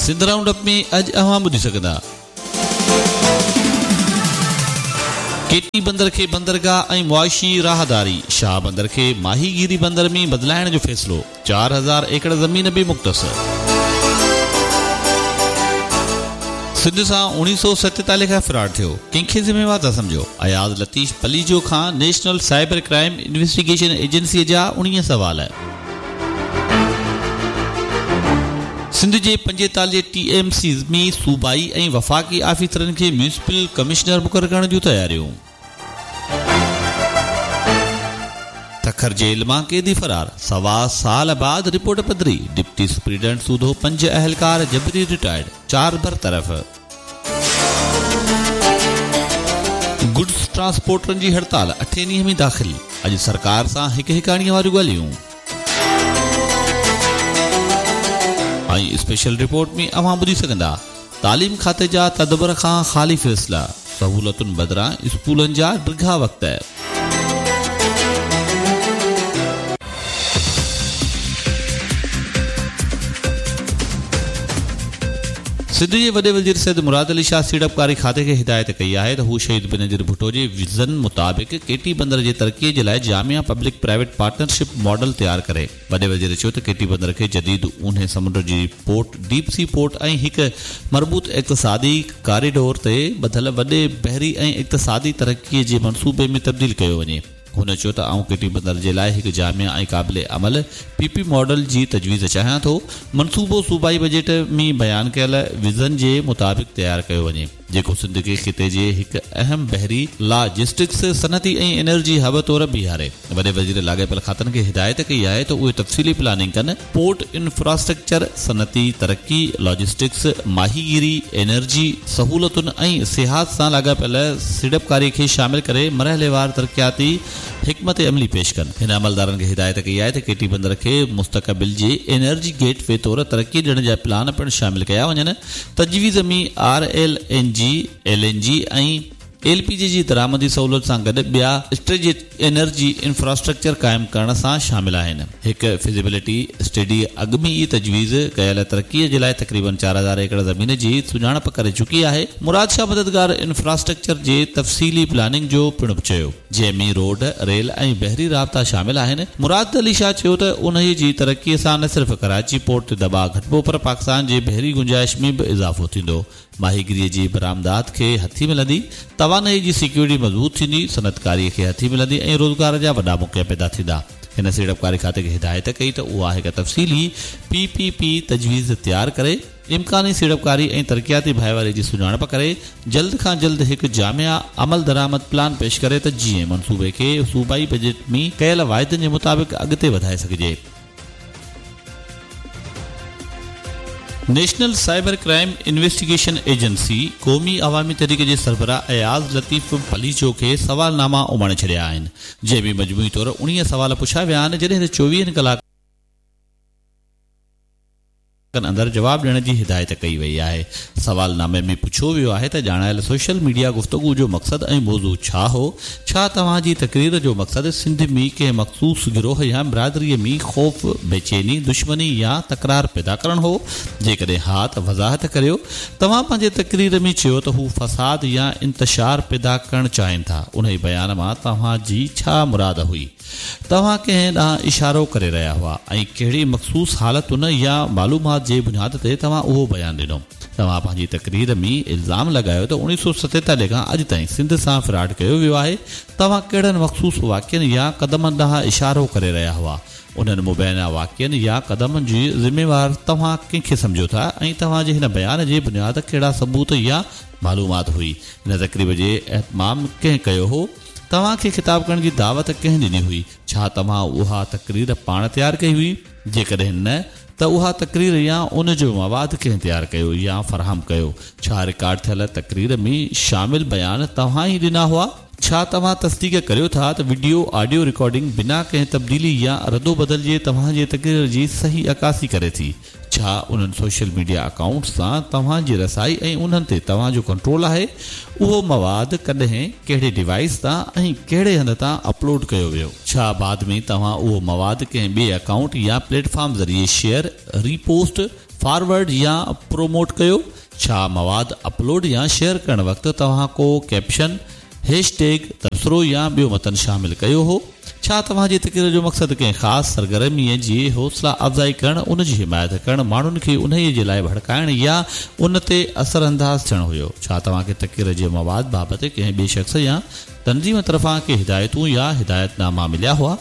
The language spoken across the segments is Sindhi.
سنڌ رائونڊ اپ ۾ اڄ اوهان ٻڌي سگهندا. ڪيٽي بندر کي بندرگاهه ۽ معاشي راهداري، شاهه بندر کي ماهيگيري بندر ۾ بدلائڻ جو فيصلو، 4000 ايڪڙ زمين به مختص. سنڌ سان 1947 کان فراڊ ٿيو، ڪنهن کي ذميوار ٿا سمجهو؟ اياز لطيف پليجو کان نيشنل سائبر ڪرائيم انويسٽيگيشن ايجنسيء جا 19 سوال. سنڌ جي 45 ٽي ايم سيز ۾ صوبائي ۽ وفاقي آفيسرن کي ميونسپل ڪمشنر مقرر ڪرڻ جون تياريون. سکر جيل مان قيدي فرار، سوا سال بعد رپورٽ پڌري، ڊپٽي سپرنٽينڊنٽ سوڌو 5 اهلڪار جبري رٽائرڊ، 4 برطرف. گڊز ٽرانسپورٽرن جي هڙتال اٺين ڏينهن ۾ داخل، اڄ سرڪار سان هڪ هڪاڻيء واريون ڳالهيون. ۽ اسپيشل رپورٽ ۾ اوهان ٻڌي سگهندا تعليم کاتي جا تدبر کان خالي فيصلا، سهولتن بدران اسڪولن جا ڊگها وقت. سنڌ جي وڏي وزير سيد مراد علي شاهه سيڙپڪاري کاتي کي هدايت ڪئي آهي ته هو شهيد بينظير ڀٽو جي ويزن مطابق ڪيٽي بندر جي ترقي جي لاء جامع پبلڪ پرائيويٽ پارٽنرشپ ماڊل تيار ڪري. وڏي وزير چيو ته ڪيٽي بندر کي جديد اونهي سمنڊ جي پورٽ، ڊيپ سي پورٽ ۽ هڪ مربوط اقتصادي ڪاريڊور تي ٻڌل وڏي بحري ۽ اقتصادي ترقي جي منصوبي ۾ تبديل ڪيو وڃي. هن چيو ته آئون ڪيٽي بندر جي لاء هڪ جامع ۽ قابل عمل پي پي ماڊل جي تجويز چاهيان ٿو، منصوبو صوبائي بجيٽ ۾ بيان ڪيل ويزن جي مطابق تيار ڪيو وڃي، جيڪو سنڌ کي خطي جي هڪ اهم بحري، لاجسٽڪس، صنعتي ۽ انرجي هب طور بيهاري. وڏي وزير لاڳاپيل کاتن کي هدايت ڪئي آهي ته اهي تفصيلي پلاننگ ڪن، پورٽ انفراسٽرڪچر، صنعتي ترقي، لاجسٽڪس، ماهيگيري، انرجي، سهولتن ۽ سياحت سان لاڳاپيل سيڙپڪاري کي شامل ڪري مرحليوار ترقياتي حڪمت عملي پيش ڪن. هن عملدارن کي هدايت ڪئي آهي ته ڪيٽي بندر کي مستقبل جي انرجي گيٽ وي طور ترقي ڏيڻ جا پلان پڻ شامل ڪيا وڃن. تجويز ۾ R L N G, L N G ۽ L P جي جي درآمدي سهولت سان گڏ ٻيا اسٽريٽجڪ انرجي انفراسٽرڪچر قائم ڪرڻ سان شامل آهن. هڪ فزيبلٽي اسٽڊي اڳ ۾ ئي تجويز ڪيل ترقي جي لاء تقريبن 4000 ايڪڙ زمين جي سڃاڻپ ڪري چڪي آهي. مراد شاهه مددگار انفراسٽرڪچر جي تفصيلي پلاننگ جو پڻ چيو، جنهن ۾ روڊ، ريل ۽ بحري رابطا شامل آهن. مراد علي شاهه چيو ته انهي جي ترقي سان نه صرف ڪراچي پورٽ تي دٻاء گهٽبو پر پاڪستان جي بحري گنجائش ۾ به اضافو ٿيندو. ماهيگيريء جي برآمدات کي هٿي ملندي، توانائيء جي سيڪيورٽي مضبوط ٿيندي، صنعتڪاريء کي هٿي ملندي ۽ روزگار جا وڏا موقعا پيدا ٿيندا. هن سيڙپڪاري کاتي کي هدايت ڪئي ته اها هڪ تفصيلي پي پي پي تجويز تيار ڪري، امڪاني سيڙپڪاري ۽ ترقياتي ڀائيواري جي سڃاڻپ ڪري، جلد کان جلد هڪ جامع عملدرآمد پلان پيش ڪري ته جيئن منصوبي کي صوبائي بجيٽ ۾ ڪيل واعدن جي مطابق اڳتي وڌائي سگهجي. National cyber crime investigation agency Qaumi Awami Tehreek جي سربراهه اياز لطيف پليجو کي سوالناما اماڻي ڇڏيا آهن، جنهن ۾ مجموعي طور 19 سوال پڇيا ويا آهن، جڏهن ته 24 ڪلاڪن اندر جواب ڏيڻ جي هدايت ڪئي وئي آهي. سوالنامي ۾ پڇيو ويو آهي ته ڄاڻايل سوشل ميڊيا گفتگو جو مقصد ۽ موضوع ڇا هو؟ ڇا توهان جي تقرير جو مقصد سنڌ ۾ ڪنهن مخصوص گروهه يا برادريء ۾ خوف، بيچيني، دشمني يا تڪرار پيدا ڪرڻ هو؟ جيڪڏهن ها ته وضاحت ڪريو. توهان پنهنجي تقرير ۾ چيو ته هو فساد يا انتشار پيدا ڪرڻ چاهين ٿا، انهي بيان مان توهان جي ڇا مراد هئي؟ توهان ڪنهن ڏانهن اشارو ڪري رهيا هئا ۽ ڪهڙي مخصوص حالتن يا معلومات جي بنياد تي توهان اهو بيان ڏنو؟ توهان پنهنجي تقرير ۾ الزام لڳايو ته 1947 کان اڄ تائين سنڌ سان فراڊ ڪيو ويو آهي، توهان ڪهڙن مخصوص واقعن يا قدمن ڏانهن اشارو ڪري رهيا هئا؟ انهن مبينا واقعن يا قدمن جي ذميوار توهان ڪنهن کي سمجهو ٿا ۽ توهان جي هن بيان جي بنياد ڪهڙا ثبوت يا معلومات هئي؟ هن تقريب جي اهتمام ڪنهن ڪيو هو؟ توهان کي خطاب ڪرڻ جي دعوت ڪنهن ڏني هئي؟ ڇا توهان اها تقرير پاڻ تيار ڪئي هئي؟ جيڪڏهن نه ته اها تقرير يا ان جو مواد ڪنهن تيار ڪيو يا فراهم ڪيو؟ ڇا رڪارڊ ٿيل تقرير ۾ شامل بيان توهان ئي ڏنا هئا؟ ڇا توهان تصديق ڪريو ٿا ته وڊيو، آڊيو رڪارڊنگ بنا ڪنهن تبديلي يا ردوبدل جي توهان جي تقرير جي صحيح عڪاسي ڪري ٿي؟ ڇا انهن سوشل ميڊيا اڪائونٽس سان توهان جي رسائي ۽ انهن تي توهان جو ڪنٽرول آهي؟ اهو مواد ڪڏهن، ڪهڙي ڊوائيس تان ۽ ڪهڙي هنڌ تان اپلوڊ ڪيو ويو؟ ڇا بعد ۾ توهان اهو مواد ڪنهن ٻئي اڪائونٽ يا پليٽ فارم ذريعي شيئر، ري پوسٽ فارورڊ يا پروموٽ ڪيو؟ ڇا مواد اپلوڊ يا شيئر ڪرڻ وقت توهان ڪو ڪيپشن، هيش ٽيگ، تبصرو يا ٻيو متن شامل ڪيو هو؟ ڇا توهان جي تقرير جو مقصد ڪنهن خاص سرگرميء جي حوصلا افزائي ڪرڻ، ان جي حمايت ڪرڻ، ماڻهن کي انهيء جي لاء ڀڙڪائڻ يا ان تي اثرانداز ٿيڻ هيو؟ ڇا توهان کي تقرير جي مواد بابت ڪنهن ٻئي شخص يا تنظيم طرفان ڪي هدايتون يا هدايت ناما مليا هئا؟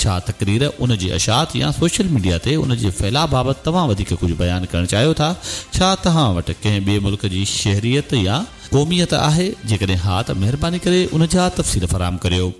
ڇا تقرير، ان جي اشاعت يا سوشل ميڊيا تي ان جي ڦهلاء بابت توهان وڌيڪ ڪجهه بيان ڪرڻ چاهيو ٿا؟ ڇا توهان وٽ ڪنهن ٻئي ملڪ جي شهريت يا قوميت آهي؟ جيڪڏهن ها ته مهرباني ڪري ان جا تفصيل فراهم ڪريو.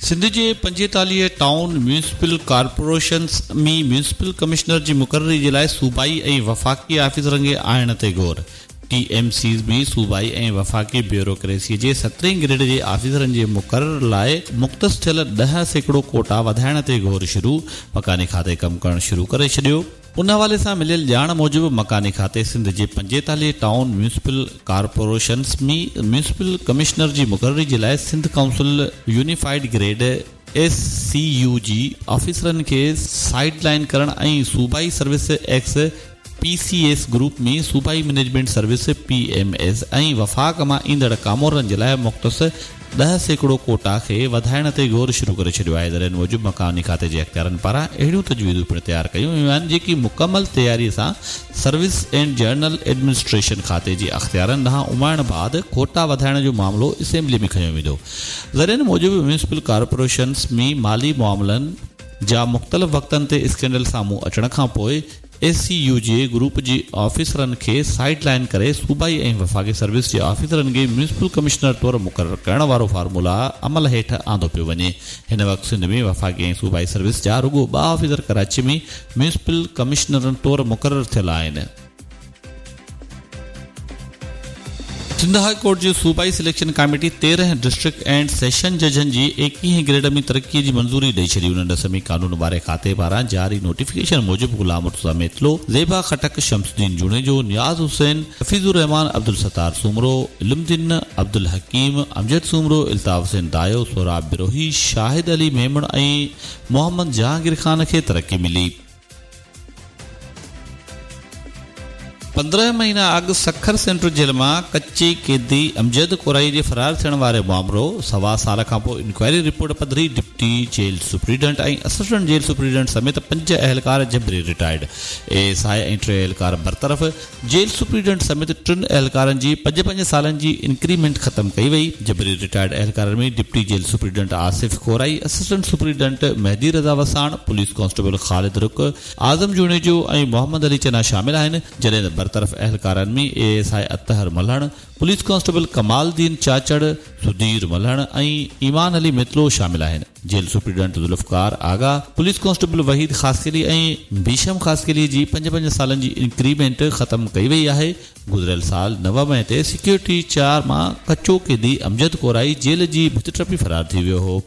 سنڌ جي 45 town municipal corporations ۾ municipal commissioner جي مقرري جي لاء صوبائي ۽ وفاقي آفيسرن کي آڻڻ تي غور. ٽي ايم سيز ۾ صوبائي ۽ وفاقي بيوروڪريسي جي سترهين گريڊ جي آفيسرن جي مقرر لاء مختص ٿيل 10% ڪوٽا وڌائڻ تي غور شروع، مڪاني کاتي ڪم ڪرڻ شروع ڪري ڇڏيو. ان حوالي سان مليل ڄاڻ موجب مڪاني کاتي سنڌ جي 45 town municipal corporations ۾ municipal commissioner جي مقرري جي لاء Sindh council unified grade, S C U جي، آفيسرن کي سائيڊ لائين ڪرڻ ۽ صوبائي service ex P C S group ۾ صوبائي management service, P M S, ۽ وفاق مان ايندڙ ڪامورن جي لاء مختص 10% ڪوٽا کي وڌائڻ تي غور شروع ڪري ڇڏيو آهي. ذريعن موجب مڪاني کاتي جي اختيارن پاران اهڙيون تجويزون پڻ تيار ڪيون ويون آهن جيڪي مڪمل تياري سان سروس اينڊ جنرل ايڊمنسٽريشن کاتي جي اختيارن ڏانهن اماڻڻ بعد ڪوٽا وڌائڻ جو معاملو اسيمبلي ۾ کنيو ويندو. ذريعن موجب ميونسپل ڪارپوريشنز ۾ مالي معاملن جا مختلف وقتن تي اسڪينڊل سامهون اچڻ کانپوء ايس سي يو جي گروپ جي آفيسرن کي سائيڊ لائين ڪري صوبائي ۽ وفاقي سروس جي آفيسرن کي ميونسپل ڪمشنر طور مقرر ڪرڻ وارو فارمولا عمل هيٺ آندو پيو وڃي. هن وقت سنڌ ۾ وفاقي ۽ صوبائي سروس جا رڳو ٻه آفيسر ڪراچي ۾ ميونسپل ڪمشنرن طور مقرر ٿيل آهن. سنڌ هاء ڪورٽ جي صوبائي selection committee 13 district and session ججن جي ايڪيهين گريڊ ۾ ترقي جي منظوري ڏئي ڇڏي. ان ڏس ۾ قانون واري کاتي پاران جاري نوٽيفڪيشن موجب غلام مرتضيٰ ميتلو، زيبا خٽڪ، شمس الدين جوڻيجو، نياز حسين، حفيظ الرحمان، عبدالستار سومرو، علم الدين، عبدالحڪيم، امجد سومرو، الطاف حسين دايو، سهراب بروهي، شاهد علي ميمڻ ۽ محمد جهانگير خان کي ترقي ملي. 15 مهينا اڳ سکر سينٽرل جيل مان ڪچي قيدي امجد ڪورائي جي فرار ٿيڻ واري مامرو سوا سال کانپوء انڪوائري رپورٽ پڌري، deputy jail superintendent ۽ assistant jail superintendent سميت پنج اهلڪار جبري رٽائرڊ، اي ايس I ۽ ٽي اهلڪار برطرف، جيل سپريڊنٽ سميت ٽن اهلڪارن جي پنج پنج سالن جي انڪريمينٽ ختم ڪئي وئي. جبري رٽائرڊ اهلڪارن ۾ deputy jail superintendent Asif Korai, assistant superintendent Mehdi Raza Wassan, police constable Khalid Ruk, Azam Junejo ۽ Muhammad Ali Channa شامل آهن، جڏهن ته برطرف اهلڪارن ۾ A S I Athar Malhan, police constable Kamal Uddin Chachar, Sudhir Malhan ۽ Iman Ali Mitlo شامل آهن. Jail superintendent Zulfiqar Agha, police constable Waheed Khaskheli ۽ Bhisham Khaskheli جي پنج پنج سالن جي انڪريمينٽ ختم ڪئي وئي آهي. گذريل سال 9 مئي تي سيڪيورٽي چار مان ڪچو قيدي امجد ڪورائي جيل جي ڀت ٽپي فرار ٿي ويو هو.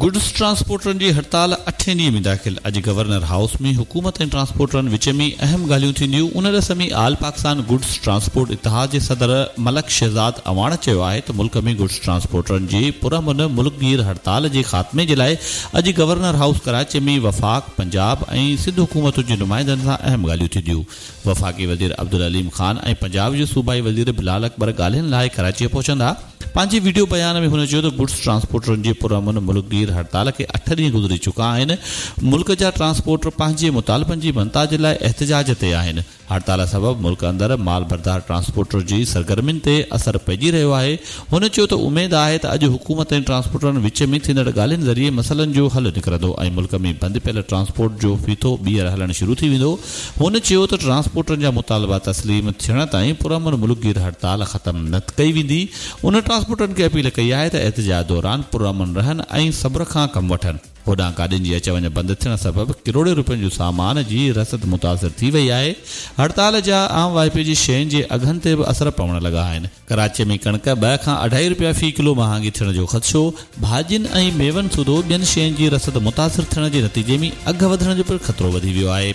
گڊز ٽرانسپورٽرن جي هڙتال اٺين ڏينهن ۾ داخل، اڄ گورنر هائوس ۾ حڪومت ۽ ٽرانسپورٽرن وچ ۾ اهم ڳالهيون ٿينديون، ان ڏس ۾ آل پاڪستان گڊز ٽرانسپورٽ اتحاد جي صدر ملڪ شهزاد اعواڻ چيو آهي ته ملڪ ۾ گڊز ٽرانسپورٽرن جي پرامن ملڪگير هڙتال جي خاتمي جي لاء اڄ گورنر هائوس ڪراچي ۾ وفاق، پنجاب ۽ سنڌ حڪومتن جي نمائندن سان اهم ڳالهيون ٿينديون. وفاقي وزير عبدالعليم خان ۽ پنجاب جي صوبائي وزير بلال اڪبر ڳالهين لاء ڪراچيء پهچندا. پنهنجي وڊيو بيان ۾ هن چيو ته گڊز ٽرانسپورٽرن جي پرامن ملڪگير هڙتال کي اٺ ڏينهن گذري چڪا آهن، ملڪ جا ٽرانسپورٽر پنهنجي مطالبن جي مڃتا جي لاء احتجاج تي آهن، هڙتال سبب ملڪ اندر مال بردار ٽرانسپورٽر جي سرگرمين تي اثر پئجي رهيو آهي. هن چيو ته اميد آهي ته اڄ حڪومت ۽ ٽرانسپورٽرن وچ ۾ ٿيندڙ ڳالهين ذريعي مسئلن جو حل نڪرندو ۽ ملڪ ۾ بند پيل ٽرانسپورٽ جو ڦيٿو ٻيهر هلڻ شروع ٿي ويندو. هن چيو ته ٽرانسپورٽرن جا مطالبا تسليم ٿيڻ تائين پرامن ملڪگير هڙتال ختم نه ڪئي ويندي. هن ٽرانسپورٽرن کي اپيل ڪئي آهي ته احتجاج دوران پرامن رهن ۽ صبر کان ڪم وٺن. هوڏانهن گاڏين جي اچ وڃ بند ٿيڻ سبب ڪروڙين روپين جو سامان جي رسد متاثر ٿي وئي آهي. هڙتال جا عام واهپي جي شين جي اگهن تي به اثر پوڻ لڳا آهن. ڪراچي ۾ ڪڻڪ ٻه کان اڍائي روپيا في ڪلو مهانگي ٿيڻ جو خدشو، ڀاڄين ۽ ميون سوڌو ٻين شين جي رسد متاثر ٿيڻ جي نتيجي ۾ اگهه وڌڻ جو پڻ خطرو وڌي ويو آهي.